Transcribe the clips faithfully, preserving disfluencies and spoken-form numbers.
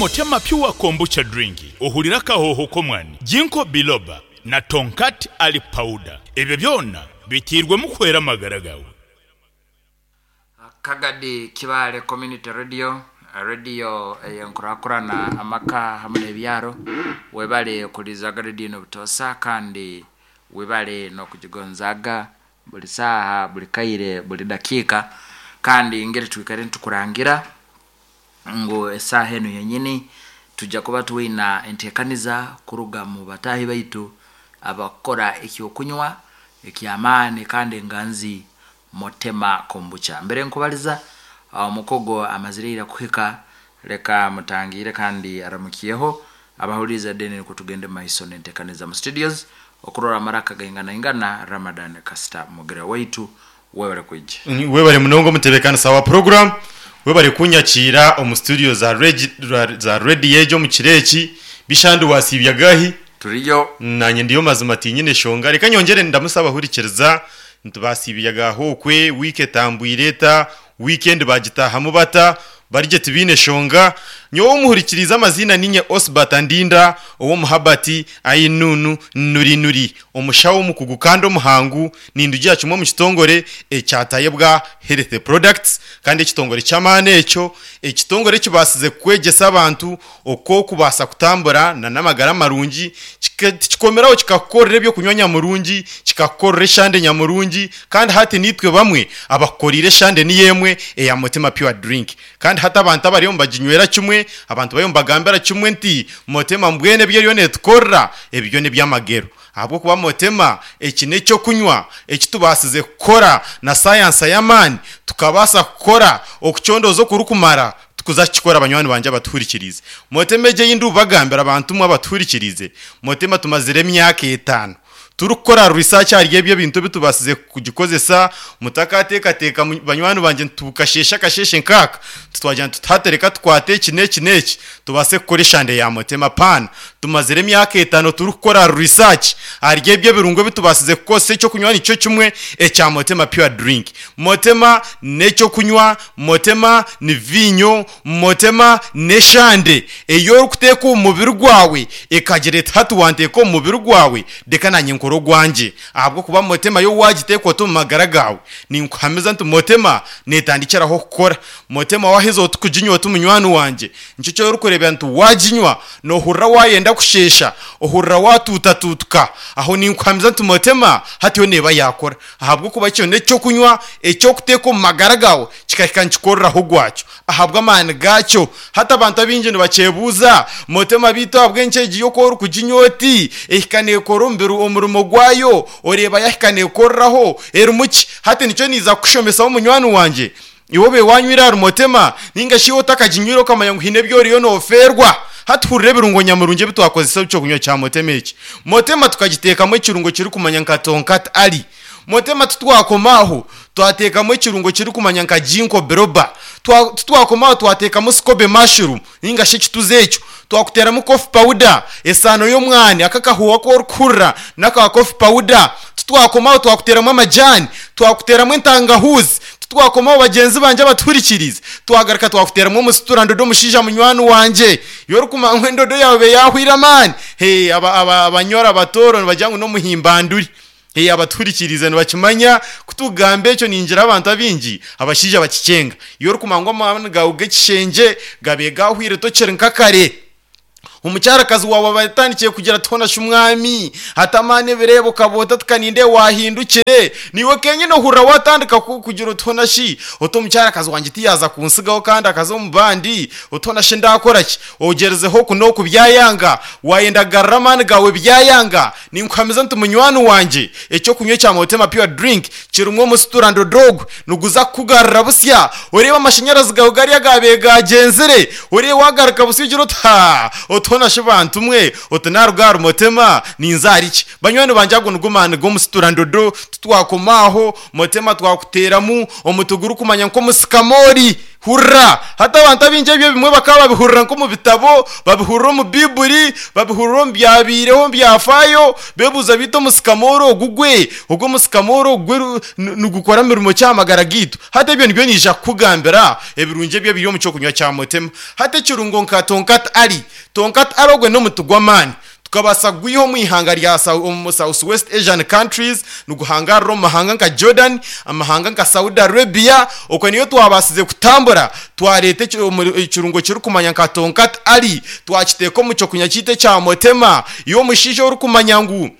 Motema Pure Kombucha Drink ohurire akahooho k'omwani, Ginkgo Biloba na Tongkat Ali Powder. Ebyo byona biteirwemu kuhwera amagara gaawe. Kagadi Kibaale Community Radio, radio eyenkurakurana amaka hamwe n'ebyaro. Webale kulizaga radio eno butoosa, kandi webale n'okugigonzaga buli saaha, buli kaire, buli dakiika. Kandi ngeri twikare nitukurangira ngu esaaha eno yenyini tujja kuba twina enteekaniza kuruga mu bataahi baitu abakukora ekyokunywa ekyamaani kandi enganzi, Motema Kombucha. Mbere nkubaliza omukogo amazire ira kuhika, leka mutangire kandi aramukyeho abahuliriza, then niko tugende maiso n'enteekaniza mu studios okurora amaraka gainganaingana. Ramadan Kasita Mugira waitu, webale kwija. Webale munonga omutebekanisa wa program, webale kunyakiira omu studio za regi- za radio egi omu kiro eki. Bishandi wasiibya gahi? Turiyo. Nanye ndiyo mazima, tinyine shonga. Reka nyongere ndamusa abahurikiriza ntibasiibya gahokwe, wiiki etambwire eta, weekend bagitahamu bata? Barye tibiine shonga. Nyowe omuhurikiriza, amazina ninye Osbat Ndinda ow'omuhabati ainunu nuri nuri, omushaho omukugu kandi omuhangu. Nindugira kimwe omu kitongore ekyatayebwa Health Products, kandi ekitongore ky'amaani ekyo, ekitongore ekibasize kwegyesa abantu okwo okubaasa kutambura na n'amagara marungi. Kika- tikikomeraho kikakukorera ebyokunywa nyamurungi, kikakukorera eshande nyamurungi, kandi hati nitwe bamwe abakukorire eshande niyo emwe eya Motema Pure Drink. Kandi hati abantu abariyo nibaginywera kimwe, abantu bariyo nibagambira kimwe nti Motema mbwene ebyo eriyo netukorera ebyo nebyamagero, ahabwokuba Motema eki n'ekyokunywa ekitubasize kukora na sayansa y'amaani, tukabaasa kukora okucondooza okurikumara tukuza kukikora. Banywani bangye abatuhurikirize, Motema egi ei ndikubagambira, abantu mwe abatuhurikirize, Motema tumazire emyaka etaano turikukora research ahari ebyo ebintu ebitubasize kugikozesa. Mutakateekateeka mu- banywani bangye, tukashesha akasheshe nkaaka tutwagira nti tutatereka tukwate eki n'eki n'eki tubaase kukora eshande ya Motema paana. Tumazire emyaka etaano turikukora research ahari ebyo ebirungo ebitubasize kukozesa ekyokunywa nikyo kimwe ekya Motema Pure Drink. Motema n'ekyokunywa, Motema ni vinyo, Motema n'eshande ei orikuteeka omu mubiri gwawe ekagira eti hati wanteeka omu mubiri gwawe, reka nanye nkore ogwangye, ahabwokuba Motema yo wagiteeka oti omu magara gawe, ninkuhamiza nti Motema netandikiraho kukora. Motema waheza oti kuginywa oti munywani wangye, nikyo kyorikureebera nti waginywa nohurira wayenda kushesha, ohurira watuutatuutuka. Aho ninkuhamiza nti Motema hati yo neeba yakora, ahabwokuba kyo n'ekyokunywa ekyokuteeka omu magara gawe kikahika nikikoreraho gwakyo ahabw'amaani gakyo. Hati abantu abaingi nibakyebuuza, Motema biitu ahabw'enki egi yo orikuginywa oti ehika neekora omubiri omurimo gwayo, oreeba yahika neekoreraho, erimu ki? Hati nikyo niiza kukushomesaho munywani wangye, iwe obe wanywire ahari Motema ninga shi iwe otakaginywire okamanya ngu haine ebi oriyo noofeerwa. Hati hurira ebirungo nyamurungi ebi twakozesa ekyokunywa kya Motema eki. Motema tukagiteekamu ekirungo kirikumanya nka Tongkat Ali. Motema tutwakoma aho, twateekamu ekirungo kirikumanya nka Ginkgo Biloba. Tutwakoma aho, twateekamu SCOBY mushroom ninga shi ekituzi ekyo, twakuteramu coffee powder, esaano y'omwani, aka akahuuha aku orikuhurira n'aka coffee powder. Tutwakomaho, twakuteramu amajani, twakuteramu entangahuzi. Tutwakomaho, bagyenzi bangye abatuhurikirize, twagaruka twakuteramu omusitura ndodo, omushaija munywani wangye yorikumanya endodo yawe yahwire amaani. Hey, aba- aba- abanyoro abatooro nibagira ngu n'omuhimbanduri. Hey, abatuhurikirize nibakimanya kutugamba ekyo. Ningira abantu abingi abashaija bakicenga, iyo orikumanya ngu amaani gawe g'ekishengye gabe gahwire, tokiri nka kare, omukyarakazi wawe aba atandikiye kugira ati hona shi mwami hati amaani ebireebo kaboota tukaninde wahindukire, niiwe kenyine ohurira watandika ku- kugira oti hona shi oti omukyarakazi wangye tiyaza kunsigaho kandi akaza omu bandi, oti hona shi ndakora ki? Ogyerizeho oku n'oku byayanga, wayenda kugarura amaani gawe byayanga. Ninkuhamiza nti munywani wangye, ekyokunywa ekya Motema Pure Drink kirimu omusitura ndodogwe niguza kukugarura busya, oreeba amashanyarazi gawe gariya gabaire gagyenzire, oreeba wagaruka busya ogira oti ha oti Otona shibantu mwe otunaruga Motema ninzariki banywani banje ago nugumani gomusitura ndodo tutwakomaho Motema twakuteramu omutuguru kumanya nko musikamori hurra hata abantu abinje ebyo bimwe bakaba babihurira nko mu bitabo, babihurira mu Bibuli, babihurira mu byabireho byafayo, bebuza bito musikamoro ogugwe ogwo musikamoro ogwe nugukora mirimo cyamagara gitu. Hata ebyo nibyo nija kugambira ebirunje ebyo biri mu cyo kunywa cya Motema. Hata kirungo nka Tonkat Ali, Tonkat arogwe no mutugwamani tukabasa gwiho mu ihanga rya South West Asian countries, nuguhanga ro mahanga nka Jordan, amahanga nka Saudi Arabia, uko niyo twabasize kutambura twarete ikirungo kiri kumanya nka Tonkat Ali, twakiteko mu cyo kunya cyite cya Motema. Iyo mushisho uri kumanya ngu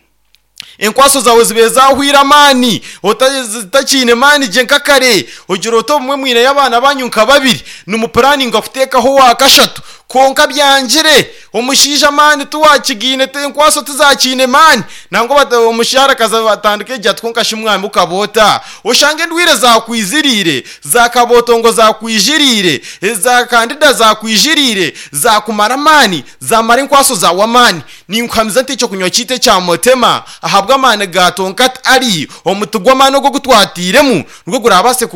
enkwaso zawe zibe zahwira mani otakine mani je nkakare ogira oto mwe mwine y'abana banyu nka babiri numuplanning akutekaho wakashatu konka byangire omushisha mani tuwakigine te enkwaso tuzakine mani nango omushara kaza batandike jya twonka shimwami ukabota oshange ndwire zakwizirire zakabotongo zakwijirire za kandida zakwijirire zakumara mani zamara enkwaso zawa mani ninkwamiza nti cyo kunywa cyite cya Motema ahabwa amani ga Tonkat Ali omutugwa mani go gutwatiremu nubwo gurabase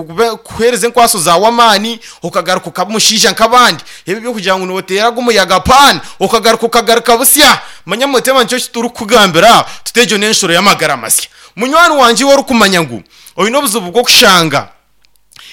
kuhereza enkwaso zawa mani ukagaruka ukamushisha nkabandi ebi byo kugira ngo notera gumuyaga pan ukagaruka ukagaruka busya manya Motema ncyo kituri kugambira tutejo n'enshuro y'amagara masya. Munywani wanje wari kumanya ngu oyino buzubu bwo kushanga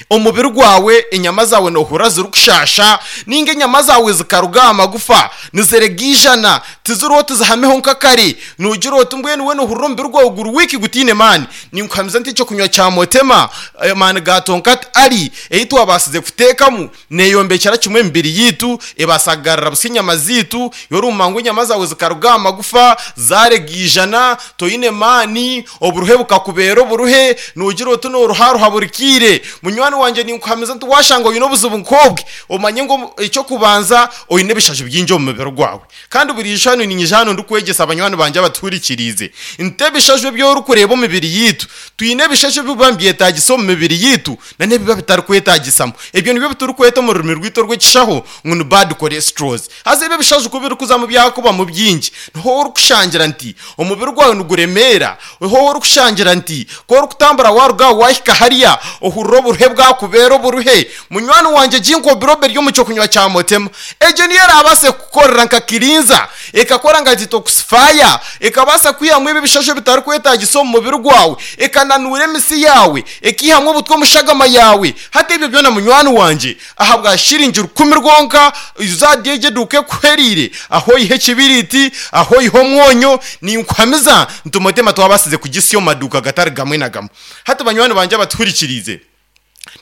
omubiri gwawe enyama zawe nohura zirukushasha ninga enyama zawe zikaruga amagufa nizeregijana tiziriho tizihameho nkakare nugira oti mbwenu we nohurira omubiri gwawe guri wiki gutine mani. Ninkuhamiza nti ekyo kunywa kya Motema mani ga Tonkat Ali eyi twabasize kutekamu neyombekera kimwe emibiri yitu ebasagarira busa enyama zitu yoruma ngu enyama zawe zikaruga amagufa zaregijana toyine mani oburuhe bukakubera oburuhe nugira oti noruharuha burikire. Munywani wanje ninkuhamiza nti washanga oyine obuzibu nkobwe omanye ngo icyo kubanza oyine ebishasho byingi omu mubiri gwawe. Kandi buri jano ninyija hano ndikwegesa abanywani banje abaturikirize nte ebishasho by'orukureba omubiri yitu twine ebishasho biba mbyetagisa omu mibiri yitu na nebiba bitarikwetagisamo ebyo nibyo biturikweta omu rurimi rwitu rw'ekishaho ngu ni bad cholesterols. Haza ebyo ebishasho ku birikuza mu byakuba mu byingi niho orikushangira nti omubiri gwawe niguremera, niho orikushangira nti ku orikutambura waruga wahika hariya ohurira oburuhe bwakubera oburuhe. Munywani wanje jinko birobe ryo mu cyo kunywa cya Motema ejo niyo yarabase kukorera nka kirinza ekakora nka detoxifyer ekabasa kwihamwe ibi bishasho bitarikwetagisa omu mubiri gwawe ekananura emisi yawe ekihamwe obutwe omushagama yawe. Hata ebyo byona munywani wanje ahabwa shiringi rukumi rwonka uzadyeje duke kuherire aho ihe kibiriti aho iho mwonyo ninkwamiza nti Motema twabasize kugisiyo maduka gatari gamwe na gamwe. Hata banywani banje abaturikirize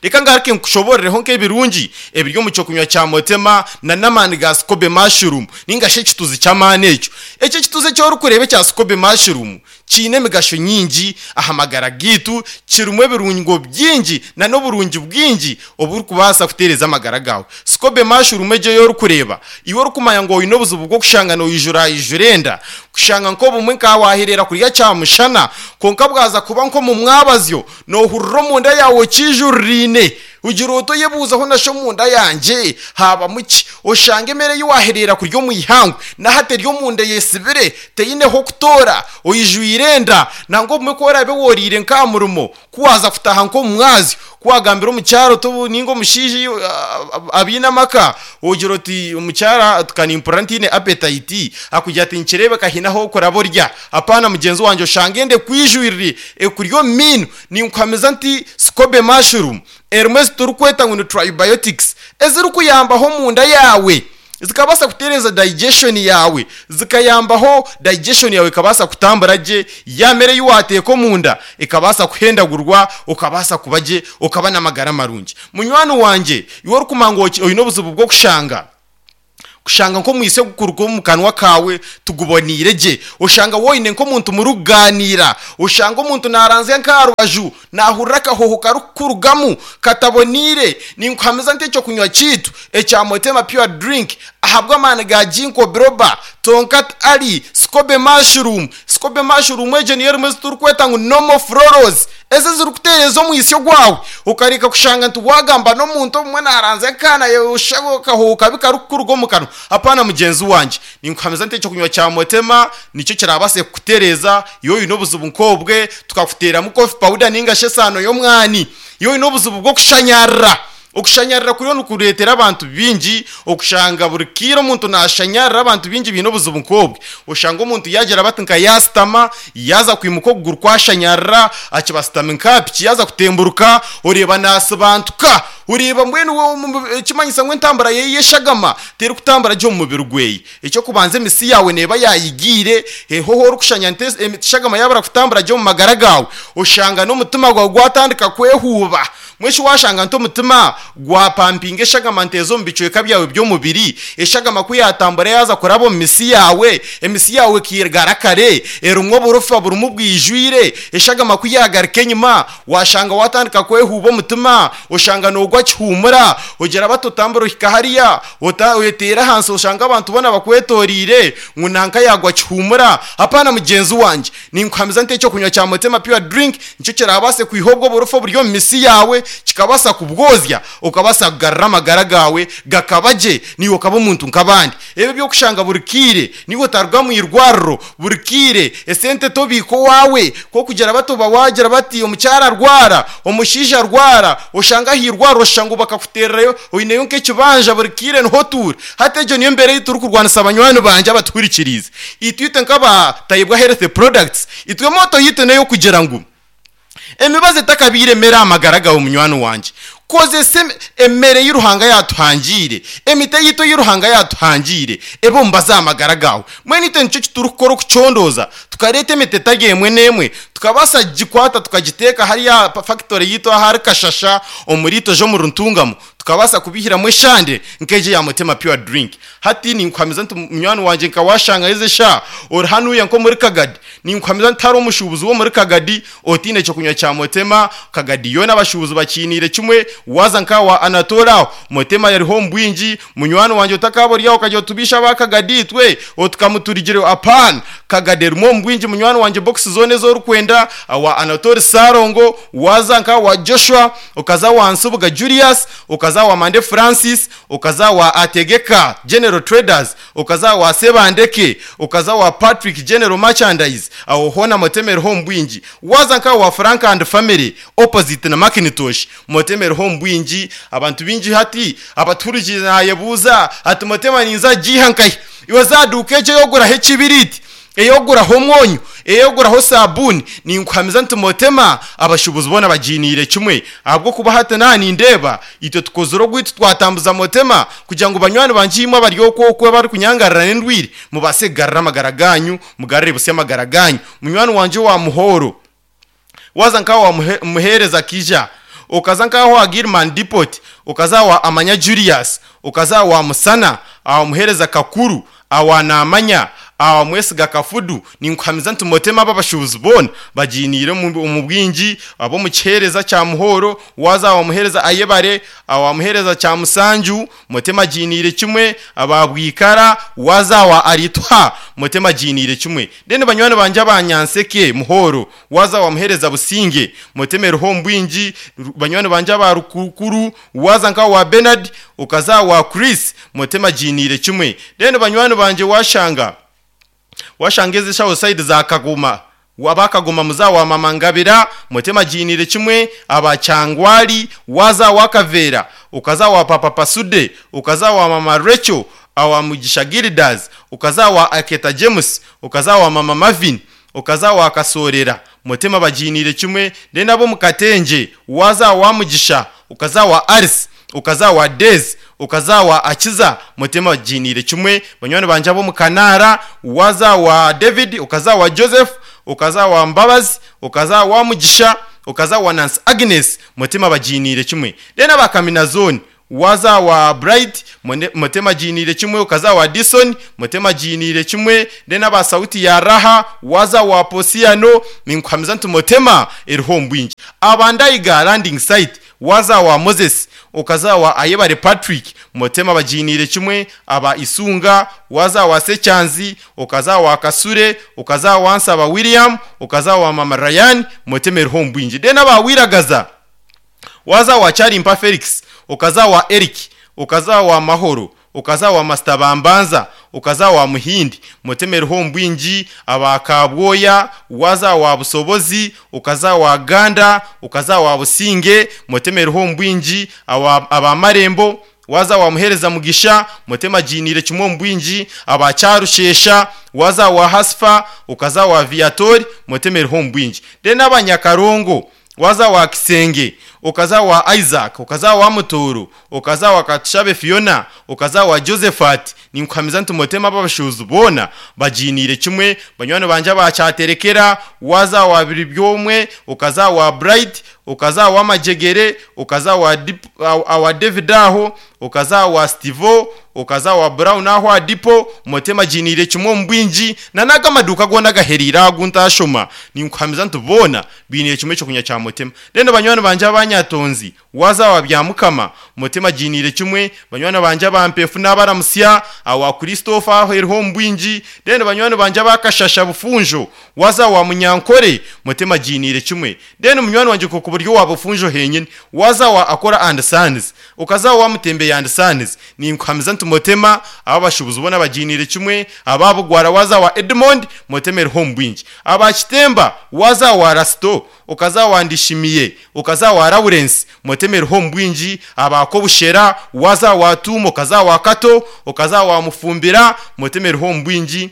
reka ngaruke nkushoborereho nk'ebirungi ebiri mu cyo kunywa cya Motema na namani ga Scobe mushroom ninga she kituzi cy'amani ekyo ekyo kituzi cyo rukurebe cya Scobe mushroom kine emigasho nyingi ahamagara gitu kirumwe ebirungo byingi na n'oburungi bwingi oburi kubasa kutereza amagara gawe. Scobe mushroom ejo yo rukureba iwe rukumanya ngo oyine obuzibu bwo kushanga no yijura yijurenda kushanga nko bumwe nka wahirera kurya cya mushana konka bwaza kuba nko mu mwabazyo no hurro munda yawe kijurine ugira oto yebuzaho nasho munda yanje haba muki oshange mere yiwaherera kuryo mu ihangu nahate ryo munda yesibire teyineho kutora oyijuirenda nango mwe ko rabe worire nka murumo kuwaza kutaha nko mwazi kuwagambira mu cyaro to ningo mushiji abina maka ogira oti umucyara tukanimpurantine appetite akujya ati nkirebe kahinaho koraborya apana mugenzi wanje oshangende kwijuirire ekuryo minu ninkwameza nti Scobe mushroom erumwe turukweta ngo ni tribiotics eziri kuyambaho munda yawe zikabasa kutereza digestion yawe zikayambaho digestion yawe ikabasa kutambura je yamere yuwateko munda ikabasa kuhendagurwa ukabasa kubaje ukaba namagara marungi. Munywani wanje iwe rukumango oyino buzibu bwo kushanga kushanga nko mwise gukuruko mu kanwa kawe tugubonire je ushanga woyine nko muntu muruganira ushanga umuntu naranze nkarubaju nahurra kahoho karukurugamu katabonire ninkwameza nte cyo kunywa kitu ecya Motema pure drink Ahabw'amaani ga Ginkgo biloba, Tonkat Ali, Scobe mushroom. Scobe mushroom egyo niyo erimu ezi turikweta ngu normal florals, ezi ezirikuteereza omwisyo gwawe okareka kushanga nti wagamba n'omuntu obumwe naranzya akaana akahoho kabi karikukuruga omu kanwa. Apaana mugyenzi wangye, ninkuhamiza nti ekyokunywa kya Motema nikyo kirabaase kukutereeza iwe oine obuzibu nk'obwe, tukakuteeramu coffee powder ninga shi esaano y'omwani. Iwe oine obuzibu bw'okushanyarira. Okushanyarira kuriyo nikureetera abantu bingi okushanga buri kiire omuntu nashanyarira, abantu bingi biine obuzibu nk'obwe. Oshanga omuntu yagira bati nka yasitama, yaza kwimuka okuguru kwashanyarira, akibasitama nka piki yaza kutemburuka, oreeba nasibantuka, oreeba mbwenu ekimanyisa ngu entambura yeye y'eshagama terikutambura gye omu mubiri gweye. Ekyokubanza emisi yawe neeba yayigiire, hoho orikushanya nti eshagama yabura kutambura gye omu magara gawe, oshanga n'omutima gwawe gwatandika kwehuuba. Mweshi washanga nti omutima gwapampinga eshagama nteeza omu bicweka byawe by'omubiri, eshagama ku yatambura yaza kuraba omu misi yawe, emisi yawe ekigara kare, erimu oburofa burimu bwijwire, eshagama ku yagaruka enyima, washanga watandika kwehuuba omutima, oshanga nogwa kihumura, ogira bati otambura ohika hariya, oyeteera ahansi oshanga abantu boona bakwetoriire ngu nanka yagwa kihumura. Apaana mugyenzi wangye, ninkuhamiza nti ekyokunywa kya Motema Pure Drink nikyo kirabaase kwiha obwo oburofa oburi omu misi yawe, kikabaasa kubwozya, okabaasa kugarura amagara gawe gakaba gye, niiwe okaba omuntu nk'abandi. Ebyo ebyokushanga buri kiire niiwe otaruga mu irwariro buri kiire, esente tobiika owaawe, k'okugira bati oba wagira bati omukyara arwara, omushaija arwara, oshanga aha irwariro oshusha ngu bakakuteererayo oineyo nk'ekibanja buri kiire niho otuura. Hati egyo niyo mbeera ei turikurwanisa banywani bangye abatuhurikiriize. Itwe itwe nk'aba Tayebwa Health Products, itwe moto yitu n'ey'okugira ngu emibazi etakabiire emere aha magara gawe munywani wangye. Kozesa emere ei Ruhanga yatuhangiire, emiti eyitu ei Ruhanga yatuhangiire ebe omubazi aha magara gawe. Mbwenu itwe nikyo kiturikukora okucondooza, tukareeta emiti etari emwe n'emwe, tukabaasa kugikwata tukagiteeka hariya aha factory yitu ahari Kashasha omuri Itojo omuri Ntungamo, tukabaasa kubihiramu eshande nk'egyo eya Motema Pure Drink. Hati ninkuhamiza nti munywani wangye nka washanga ezi eshaaha ori hanuya nk'omuri Kagadi, ninkuhamiza nti hariho omushuubuzi w'omuri Kagadi otiine ekyokunywa kya Motema. Kagadi yoona abashuubuzi bakiiniire kimwe, waza nka wa Anatole aho Motema yariho omu bwingi. Munywani wangye otakaba ori aho okagira otubisha aba Kagadi itwe otukamuturigire, apaana. Kagadi erimu omu bwingi munywani wangye, box zoona ez'orikwenda wa Anatole Sarongo, waza nka wa Joshua, okaza wa Nsubuga Julius, okaza wa Mande Francis, okaza wa Ategeka General Traders, okaza wa Sebandeke, okaza wa Patrick General Merchandise, aho hoona Motema eriho omu bwingi. Waza nka wa Frank and Family opposite na Macintosh, Motema eriho omu bwingi. Abantu bingi hati abatuhurikiire nayebuuza ati Motema ninza giiha nkahi? Iwe zaduuka egyo eyoguraho ekibiriti, eyoguraho omwonyo, eyoguraho sabuuni, ninkuhamiza nti Motema abashuubuzi boona bagiiniire kimwe. Ahabw'okuba hati naha nindeeba itwe tukozire ogwitu twatambuza Motema kugira ngu banywani bangye imwe abari okwo okwo abarikunyangarira n'endwire mubaase kugarura amagara ganyu, mugarure busya amagara ganyu. Munywani wangye wa Muhoro, waza nka wa Muheereza Kija, okaza nkaho wa Gilman Depot, okaza wa Amanya Julius, okaza wa Musana, awa Muheereza Kakuru, awa Namanya, awa Mwesiga Kafudu, ninkuhamiza nti Motema aba abashuubuzi boona bagiiniire omu bwingi. Ab'omu kiheereza kya Muhoro, waza awa Muheereza Ayebare, awa Muheereza kya Musanju, Motema agiiniire kimwe. Aba Bwikara, waza awa Aritwa, Motema agiiniire kimwe. Then banywani bangye abanyanseke Muhoro, waza wa Muheereza Businge, Motema eriho omu bwingi. Banywani bangye aba Rukukuru, waza nka wa Bernard, okaza wa Chris, Motema agiiniire kimwe. Then banywani bangye washanga washanga ezi shaho side za Kagoma, wabakagoma muza wa Mama Ngabira, Motema agiiniire kimwe. Aba Kyangwali, waza wa Kavera, okaza wa Papa Pasude, okaza wa Mama Rachel, awa Mugisha Gildas, okaza wa Aketa James, okaza wa Mama Marvin, okaza wa Kasorera, Motema bagiiniire kimwe. Then abo Mukatenje, waza wa Mugisha, okaza wa Aris, okaza wa Dez, okaza wa Akiza, Motema bagiiniire kimwe. Banywani bangye abo Mukanara, waza wa David, okaza wa Joseph, okaza wa Mbabazi, okaza wa Mugisha, okaza wa Nancy Agnes, Motema bagiiniire kimwe. Then abakamina zone, waza wa Bright, Motema agiiniire kimwe, okaza wa Dison, Motema agiiniire kimwe. Then aba Sauti ya Raha, waza wa Posiano, ninkuhamiza nti Motema eriho omu bwingi. Abandayiga landing site, Waza wa Moses, okaza wa Ayebare Patrick, motema bajinire kimwe aba Isunga, waza wa Sechanzi, okaza wa Kasure, okaza wa Nsaba William, okaza wa Mama Ryan, motema eriho mbwingi. Dena ba Wiragaza, waza wa Charimpa Felix, okaza wa Eric, okaza wa Mahoro, okaza wa Master Bambanza, okaza wa Muhindi, mutemeriho mbwingi aba Kabwoya, waza wa Busobozi, okaza wa Ganda, okaza wa Businge, mutemeriho mbwingi aba aba Marembo, waza wa Muhereza Mugisha, mutema jinire kimwe mbwingi aba Cyarushesha, waza wa Hasfa, okaza wa Viatori, mutemeriho mbwingi. Dena abanyakarongo, waza wa Kisenge, okaza wa Isaac, okaza wa Mutoro, okaza wa Katushabe Fiona, okaza wa Josephat, ninkuhamiza nti mutema abashuzu bona bajinire kimwe banywani banje abacyaterekera, waza wa Biribyomwe, okaza wa Bright, okaza wa Majegere, okaza wa Dip, awa David aho, okaza wa Stevo, okaza wa Brown aho adipo, mutema jinire kimwe mbwingi na nagamaduka gona gaherira guntashoma, ninkuhamiza nti bona binire kimwe cyo kunya cya mutema. Rero banywani banje abanyatonzi, waza wa Byamukama, mutema jinire kimwe banywani banje abampefu n'abaramusya awa Christopher aho eriho mbwingi. Rero banywani banje abakashasha bufunjo, waza wa Munyankore, mutema jinire kimwe. Rero munywani wanje ko kuburyo wa bufunjo henyine, waza wa Akora and Sons, ukaza wa Mutembe and Sons, ninkuhamiza nti mutema abashubuzi bona bajinire kimwe ababugwara, waza wa Edmond, mutema eriho mbwingi. Abakitemba, waza wa Rasto, ukaza wa Ndishimiye, ukaza wa Lawrence, mutema eriho mbwingi. Abakobushera, waza wa Tumo, ukaza wa Kato, ukaza wa Mufumbira, mutema eriho mbwingi.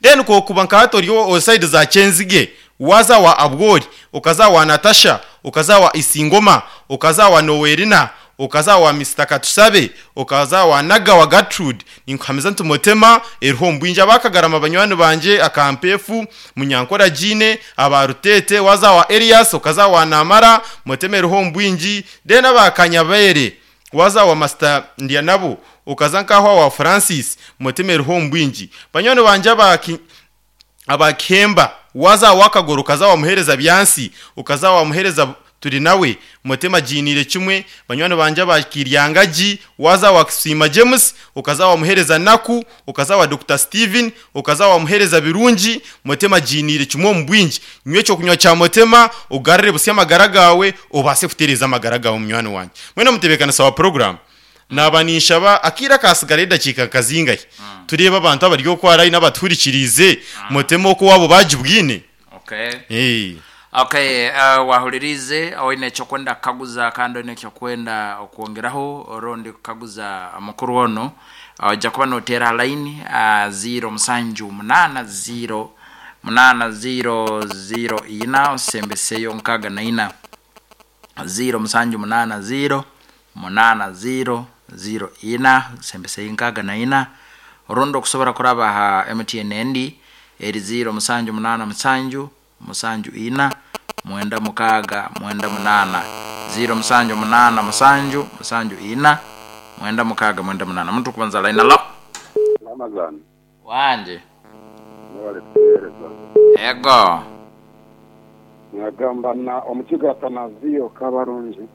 Then ko kuba nkato o side za Chenzige, waza wa Abwori, ukaza wa Natasha, ukaza wa Isingoma, ukaza wa Nowerina, okaza wa Mister Katusabe, okaza wa Naga wa Gertrude, ninkuhamiza nti mutema eriho mbwingi. Abakagarama banywani banje akampefu Munyankora Jine, abarutete, waza wa Elias, okaza wa Namara, mutema eriho mbwingi. Dena bakanyabere, waza wa Master Ndianabo, okaza nkahwa wa Francis, mutema eriho mbwingi. Banywani banje abaki abakemba, waza wakagoro, kaza wa Muhereza Byansi, ukaza wa Muhereza turi nawe, mutema jinire kimwe. Banywani banje abakiryangaji, waza wa Kisima James, ukaza wa Muhereza Naku, ukaza wa Doctor Steven, ukaza wa Muhereza Birungi, mutema jinire kimwe mbwingi. Nywe cyo kunywa cya mutema ugarire busi amagara gawe, ubase kutereza amagara gawe munywani wanje. Mwene mutebekana sawa program nabanisha ba akira kasigare dakika kazingaye, tureba abantu abaryo kwarayi n'abaturikirize mutema ko wabo bajibwine. Okay. Eh. Okay, uh, wahulirize oine ekyokwenda kukaguza kandi oine ekyokwenda okwongeraho orundi kukaguza mukuru ono, ojja kuba noteera line uh, zero musanju munana zero munana zero zero ina osembeseyo nkaga na ina, zero musanju munana zero munana zero zero ina osembeseyo nkaga na ina. Orundi okusobora kuraba ha M T N endi eri zero musanju munana musanju musanju ina mwenda mukaga mwenda munana, zero musanju munana musanju musanju ina mwenda mukaga mwenda munana. Muntu kubanza line alo Ramazan wanje mwale kuhereza ego nagamba na omukiga Tanazio Kabarungi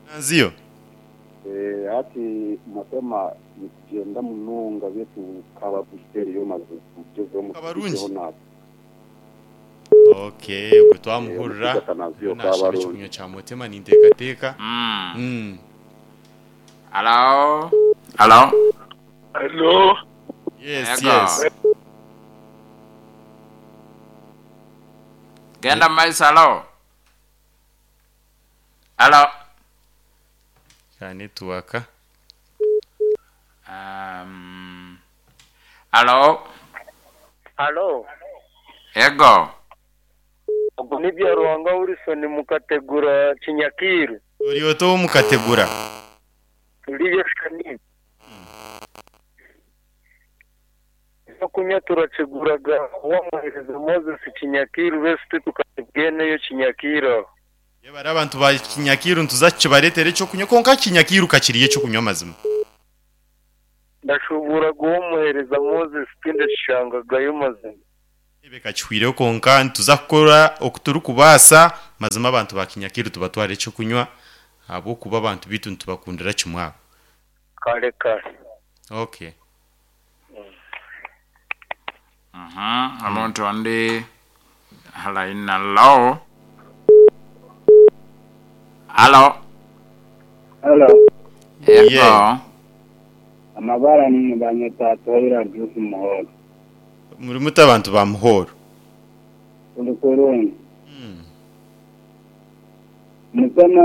Tanazio eh ati mutema nikugenda mununga betu kababusteri yo mazu kujezo mu Kabarungi. Okay, ubwo twamuhurira Kabarungi kunywa cya mutema nintekateka. mm. Mm. Alo alo Hello. Yes, Ego. yes. Genda maisa alo alo Ka network. um, alo Hello. ego Ubwo ni bya Ruhanga Wilson mukategura Kinyakiru. Uri oto mukategura. Turiye shani. Zo kunywa turaceguraga wamuhereza Moses Kinyakiru bese tukatubweneyo Kinyakiru. Yebara abantu ba Kinyakiru ntuzakibaretere cyo kunywa konka Kinyakiru kakiriye cyo kunywa mazima. Ndashobora guwomuhereza Moses tinde shangagayo mazima. Ebeka chwire konka ntuzakora okuturu kubasa Mazima abantu ba Kinyakiru tubatwara ekyokunywa ahabwokuba abantu bitu nitubakundira kimwe abo. Kale kale. Okay. Mhm, omuntu ondi line. Hello, hello. Hello. Yego. Yeah. Amabara ni banyeta Toira Juice Muhoro. Muri muto abantu ba Muhoro? Tuli kurungi. Mutema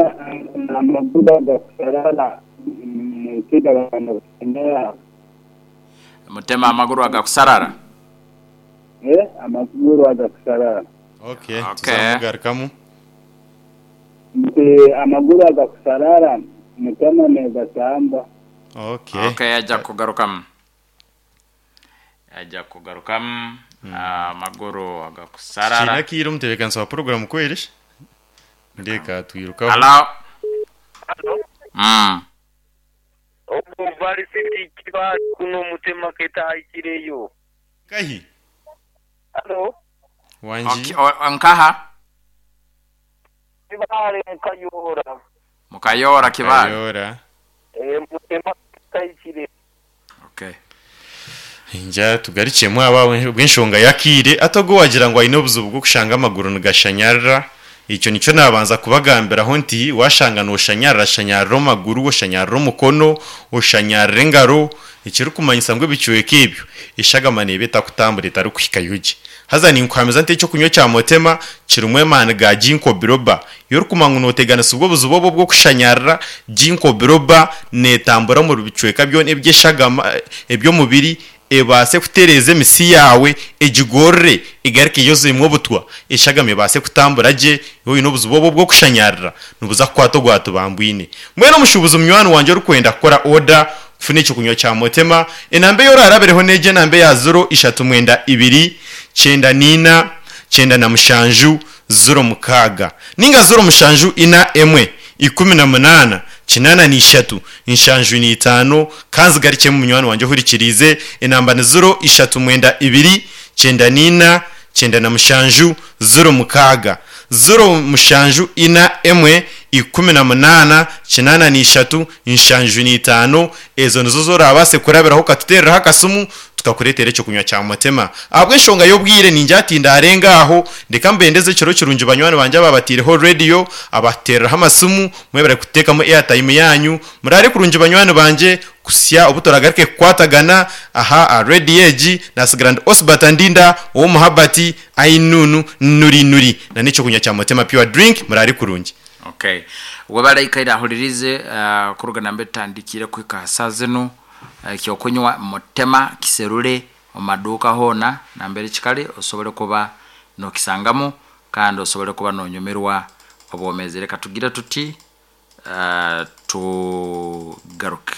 amaguba gakusarara mukida bantu kusemera. Mutema amaguru agakusarara. Eh, amaguru agakusarara. Okay. Okay. Tuzamugarukamu. Nti amaguru agakusarara mutema negatamba. Okay. Okay, ajja kugarukamu, ajja kugarukamu amaguru agakusarara. Kinyakiru omutebeekanisa wa program kwerish ndeka twirukaho. Hello. Mm. Obu varisiti kiba kuno mutema ketahikireyo. Kahi. Halo. Wanji. Okay, o- nkaha? Kibale Kayora. Mukayora Kibale. Kayora. Eh, mutema ketahikire. Okay. Nja tugarikiyemu aba bw'enshonga yakire atogo wagira ngo aine obuzibu bw'okushanga amaguru nigashanyarira. Icyo nicyo nabanza kubagambiraho nti washanga noshanyarira, shanyarira amaguru, oshanyarira omukono, oshanyarira engaro, ekirikumanyisa ngu ebicweka ebyo eshagama neeba etakutambura, etarikuhika yugi. Haza ninkuhamiza nti ekyokunywa kya mutema kirimu emaani ga ginkgo biloba. Iyo orikumanya ngu nooteganisa obwo obuzibu obwo bw'okushanyarira, ginkgo biloba neetambura omu bicweka byona eby'eshagama eby'omubiri, ebaase kutereeza emisi yawe, egigorore, egaruke yozemu obutwa, eshagama ebaase kutambura gye. Oine obuzibu obwo bw'okushanyarira nibuza kukwata ogwatubambwine. Mbwenu omushuubuzi munywani wangye orikwenda kukora order kufuna ekyokunywa kya mutema, enamba eyorarabireho neegi, enamba eya zero ishatu mwenda ibiri kyenda niina kyenda na mushanju zero mukaaga, ninga zero mushanju ina emwe ikumi na munaana kinana n'ishatu nshanju n'itaano. Kanzigarikemu munywani wangye ohurikiriize, enamba ni zero ishatu mwenda ibiri kyenda niina kyenda na mushanju zero mukaaga, zero mushanju ina emwe ikumi na munaana kinana n'ishatu nshanju n'itaano. Ezo nizo zorabaase kurabiraho ukatutereraho akasimu tukakureetera ekyokunywa kya mutema. Ahabw'enshonga y'obwire ninjatinda arenga aho, ndeka mbendeze ekiro kirungi banywani bangye ababatiireho radio, abatereraho amasimu, mwebare kuteekamu airtime yanyu. Murare kurungi banywani bangye, kusya obu turagaruke kukwatagana aha aha radio egi. Nasigara ndi Osbert Ndinda ow'omuhabati ainunu nuri nuri na n'ekyokunywa kya mutema pure drink. Murare kurungi. Okay, webale ahulirize uh, kuruga nambe tutandikire kuhika saa zinu. uh, ekyokunywa mutema kiserule omumaduuka hoona nambere kikali, osobole kuba nokisangamu kandi osobole kuba nonyumirwa obwomezi. Reka tugire tuti uh, tugaruke.